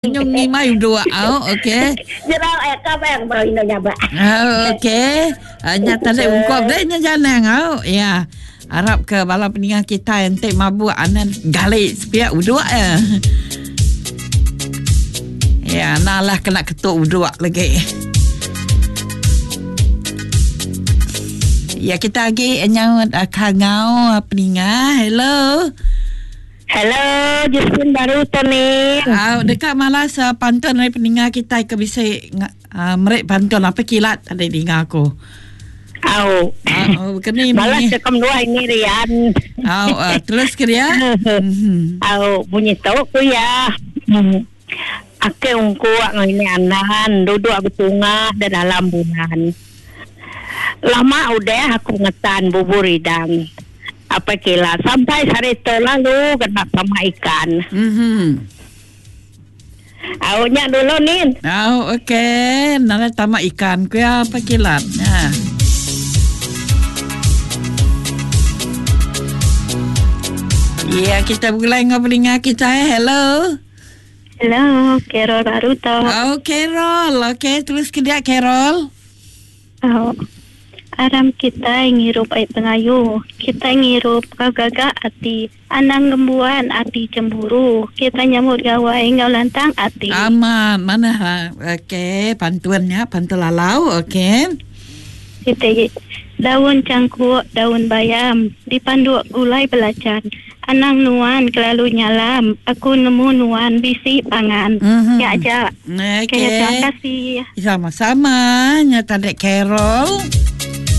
Nyung ngimai uduk au okey. Jerau eh kabang bro ino nyaba. Au okey. Ah, nya tadi ungkup deh nya janang au. Ya. Harap ke bala peninga kita enti mabuk anan gali sepiak uduk ya. Ya, nalah kena ketuk uduk lagi. Ya, kita lagi nyaut kangau peninga. Hello. Hello, Justin baru tu ni. Au deka malas uh, pantun ari peninga kitai ke bisi uh, meri pantun apa kilat tadi dinga aku. Au. Au keni malas ke kom dua ini Rian. Au uh, terus ke dia. Mhm. Au bunyi tu ku ya. Hmm. Ake ungku ngau ini anan duduk betunga di dalam bulan. Lama udah aku ngetan bubur idang. Apai kila sampai sehari tu lalu kena sama ikan. Mhm. Au nya dulu nin. Au okey, nalai tama ikan ku ya apai kilat. Ya. Ya, kita begulai enggau peninga kita eh. Hello. Hello, Carol baru tu. Oh, Carol. Okey, terus ke dia Carol. Au. Aram kitai ngirup ai pengayu. Kitai ngirup enggau gaga ati. Anang ngembuan ati chemburu. Kitai nyambut gawai enggau lantang ati. Amat manah okey pantun nya pantun lalau okey. Siti daun changkuk daun bayam dipanduk gulai belacan. Anang nuan kelalu nyalam aku nemu nuan bisi pangan. Nya aja. Okey. Terima kasih. Sama-sama nya tadi Carol.